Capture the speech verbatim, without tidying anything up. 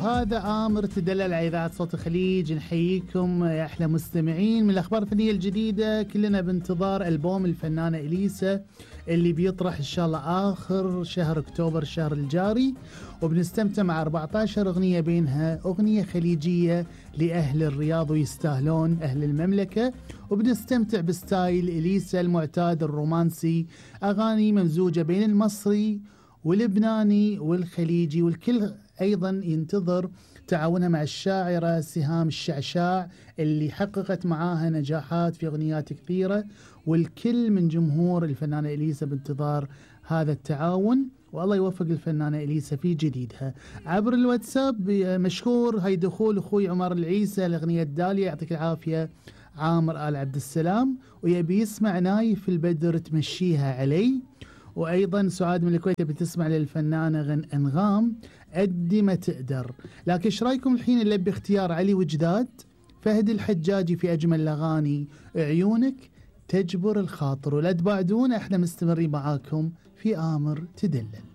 وهذا آمر تدلل على إذاعة صوت الخليج. نحييكم يا أحلى مستمعين. من الأخبار الفنية الجديدة، كلنا بانتظار ألبوم الفنانة إليسا اللي بيطرح إن شاء الله آخر شهر أكتوبر الشهر الجاري، وبنستمتع مع أربعة عشر أغنية، بينها أغنية خليجية لأهل الرياض ويستاهلون أهل المملكة، وبنستمتع بستايل إليسا المعتاد الرومانسي، أغاني ممزوجة بين المصري واللبناني والخليجي، والكل أيضا ينتظر تعاونها مع الشاعرة سهام الشعشاع اللي حققت معاها نجاحات في أغنيات كثيرة، والكل من جمهور الفنانة إليسا بانتظار هذا التعاون، والله يوفق الفنانة إليسا في جديدها. عبر الواتساب مشكور هاي دخول أخوي عمر العيسى الأغنية الدالية، يعطيك العافية عامر آل عبد السلام، ويبي يسمع نايف البدر تمشيها علي. وأيضا سعاد من الكويت بتسمع للفنانة غن أنغام قد ما تقدر. لكن ايش رايكم الحين اللي باختيار علي وجداد فهد الحجاجي في أجمل الأغاني عيونك تجبر الخاطر. ولا تبعدون، احنا مستمرين معاكم في آمر تدلل.